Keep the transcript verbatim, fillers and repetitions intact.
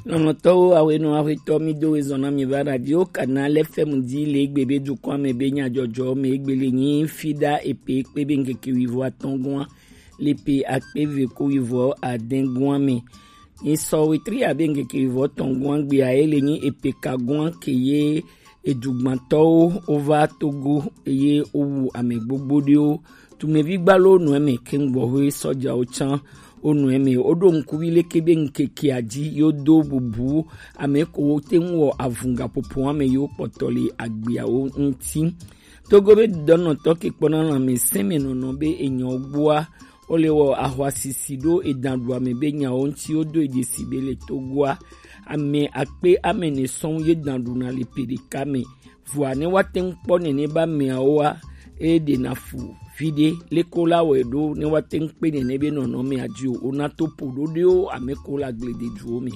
Lɔlɔ̃tɔwo, awenu awetɔ, mi do ezɔn na mi va Radio Canal F M dzi le egbe be dukɔa me be nyadzɔdzɔ me egbe le nyi fida epe kpe be ŋkeke wivo atɔ̃ gɔa le pe akpe eve ko wivo adẽ gɔa me. Nyi sɔ wetri abe ŋkeke wivo atɔ̃ gɔa gbea ye le nyi epe ka gɔa ke ye edugbãtɔwo wova Togo eye wowu ame gbogbo ɖewo. Tumevi gbalo nɔ eme ke ŋgbɔhɔe sɔjawo tsã wonɔ eme. Woɖo ŋkuvi leke be ŋkekea dzi yo do bubu ame ko wote ŋu wɔ avungaƒoƒoa me yewo kpɔtɔ le agbeawo ŋuti. Togo be dɔnɔtɔ ke kpɔna lãmesẽ me nɔnɔ be enyawo gbɔa, wole wɔ ahwasisi ɖo edan ɖu ame be nyawo ŋuti wodo edzesi be le Togoa, ame akpe ame ene sɔŋ ye dan ɖuna le pe ɖeka me. Vɔa ne woate ŋu kpɔ nene be ameawoa, eye ɖena fu viɖe leko la wɔe ɖo ne woate ŋu kpe nene be nɔnɔmea dzi o, wona to ƒo ɖoɖoewo ame ko le agblededuwo me.